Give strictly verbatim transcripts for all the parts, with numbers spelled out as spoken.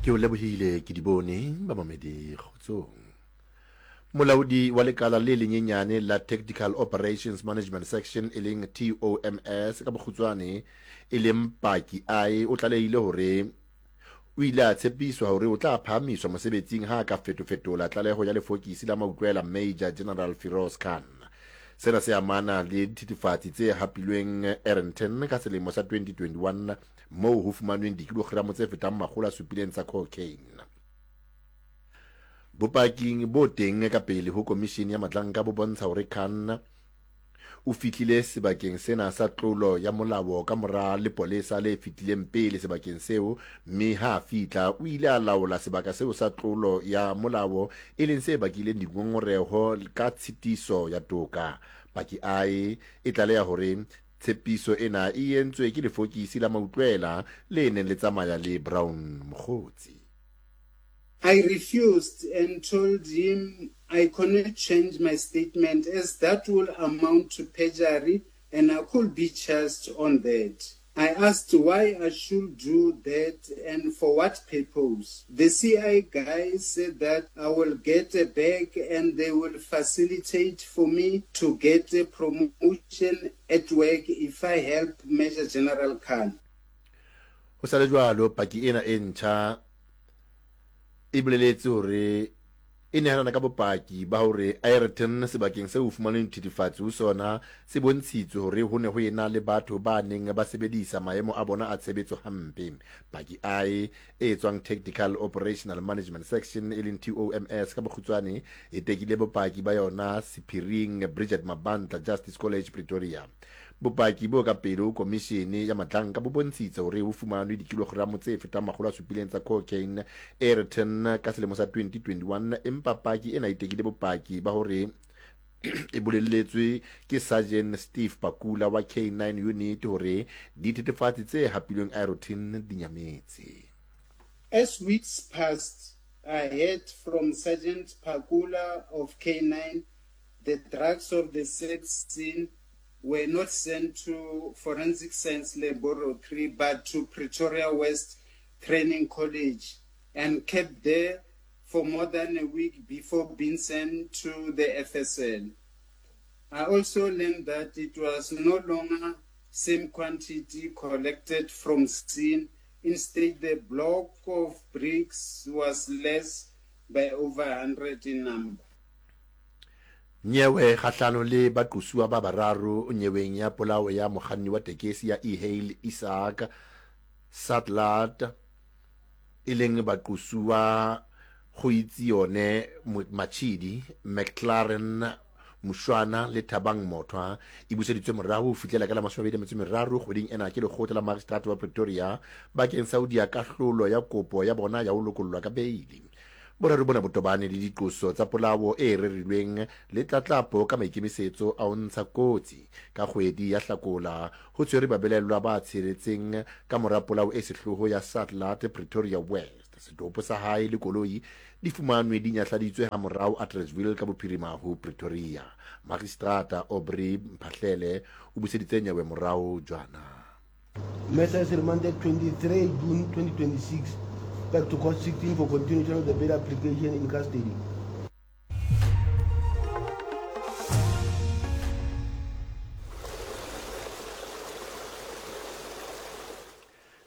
Ke o lebohile ke di bone bamamedi kgotsong. Molaodi wa lekala le lenyenyane la Tactical Operations Management Section e leng T O M S ka bokgutshwane e leng Paki I o tlalehile hore o ile a tshepiswa hore o tla phahamiswa mosebetsing ha a ka fetofetola tlaleho ya lefokisi la mautlwela Major General Firoz Khan. Sena se amana le dithethefatsi tse hapilweng Aeroton ka selemo sa twenty twenty-one moo ho fumanweng dikilogramo tse fetang makgolo a supileng tsa cocaine. Bopaking bo teng ka pele ho komishene ya Matlanka bo bontsha hore Khan o fihlile sebakeng sena sa tlolo ya molao ka mora lepolesa le fetileng pele sebakeng seo, mme ha a fihla o ile a laola sebaka seo sa tlolo ya molao e leng se bakileng dingongoreho ka tshitiso ya toka. Paki I e tlaleha hore tshepiso ena e entswe ke lefokisi la mautlwela le neng le tsamaya le Brown Mokgotsi. I refused and told him I could not change my statement as that will amount to perjury and I could be charged on that. I asked why I should do that and for what purpose. The C I guy said that I will get a bag and they will facilitate for me to get a promotion at work if I help Major General Khan. Ho sa le jwalo, paki ena e ntjha e boleletse hore e nehelana ka bopaki ba hore Aeroton sebakeng seo ho fumanweng dithethefatsi ho sona se bontshitswe hore ho ne ho ena le batho ba neng ba sebedisa maemo a bona a tshebetso hampe. Paki I e tswang Tactical Operational Management Section e leng T O M S ka bokgutshwane e tekile bopaki ba yona sephiring Bridget Mabantla Justice College Pretoria. Bopaki bo ka pele ho komishene ya Matlanka bo bontshitse hore ho fumanwe dikilogramo tse fetang makgolo a supileng tsa cocaine Aeroton ka selemo sa twenty twenty-one, empa paki ena e tekile bopaki ba hore e bolelletswe ke Sergeant Steve Pakula wa K nine unit hore dithethefatsi tse hapilweng Aeroton di nyametse. As weeks passed, I heard from Sergeant Pakula of K nine the drugs of the sex scene were not sent to Forensic Science Laboratory but to Pretoria West Training College and kept there for more than a week before being sent to the F S L. I also learned that it was no longer same quantity collected from scene. Instead, the block of bricks was less by over a hundred in number. Nyewe kgahlano le baqosuwa ba bararo nyeweng ya polao ya mokganni wa tekesi ya e-hail Isaac Satlat e leng baqosuwa Goitsione Machidi, McLaren Mushwana le Thabang Mothwa e buseditswe morao ho fihlela ka la mashome a mabedi a metso e meraro kgweding ena ke lekgotla la magistrata wa Pretoria bakeng sa ho diya kahlolo ya kopo ya bona ya ho lokollwa ka beili. Boraro bona bo tobane le diqoso tsa polao e rerilweng le tlatlapo ka maikemisetso a ho ntsha kotsi. Ka kgwedi ya Hlakola ho tshwerwe babelaellwa ba tsheletseng ka mora polao e sehloho ya Satlat Pretoria West. Setopo sa hae le koloi di fumanwe di nyahladitswe ha morao Atteridgeville ka bophirima ho Pretoria. Magistrata Aubrey Mphahlele o buseditse nyewe morao jwana. Matter is remanded twenty-three June twenty twenty-six back to court sixteen for continuation of the bail application in custody.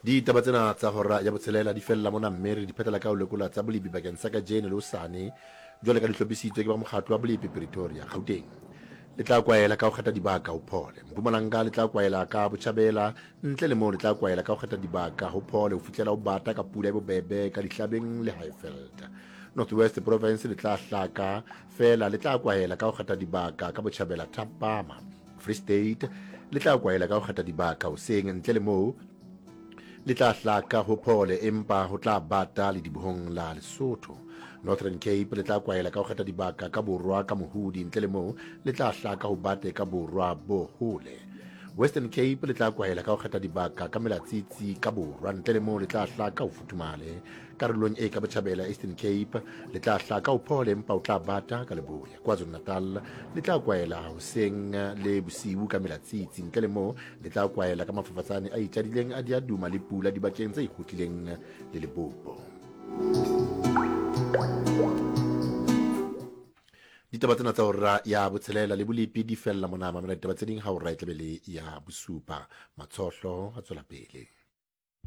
Ditaba tsena tsa hora ya botshelela di fella mona, mme re di phethela ka ho lekola tsa bolepi bakeng sa kajeno le hosane jwale ka di hlophisitswe ke ba mokgatlo wa bolepi Pretoria. Gauteng le tla kwaela ka ho kgetha dibaka ho phole. Mpumalanga le tla kwaela ka botjhabela, ntle le moo le tla kwaela ka ho kgetha dibaka ho phole ho fihlela ho bata ka pula e bobebe ka Dihlabeng le Highveld. North West Province le tla hlaka fela le tla kwaela ka ho kgetha dibaka ka botjhabela thapama. Free State le tla kwaela ka ho kgetha dibaka hoseng, ntle le moo le tla hlaka ho phole empa ho tla bata le dibohong la Lesotho. Northern Cape le tla kwaela ka ho kgetha dibaka ka borwa ka mohudi, ntle le moo le tla hlaka ho bate ka borwa bo hole. Western Cape le tla kwaela ka ho kgetha dibaka ka melatsitsi ka borwa, ntle le moo le tla hlaka ho futhumale. Karolong e ka botjhabela Eastern Cape le tla hlaka ho phole empa o tla bata ka leboya. KwaZulu-Natal le tla kwaela hoseng le bosiu ka melatsitsi, ntle le moo le tla kwaela ka mafafatsane a itjadileng a diaduma le pula dibakeng tse ikgotlileng le lebopo. Ditaba tsena tsa hora ya botshelela le bolepi di fella mona. Mamela ditaba tse ding ha hora e tlabe le ya bosupa. Matshohlo a tswela pele.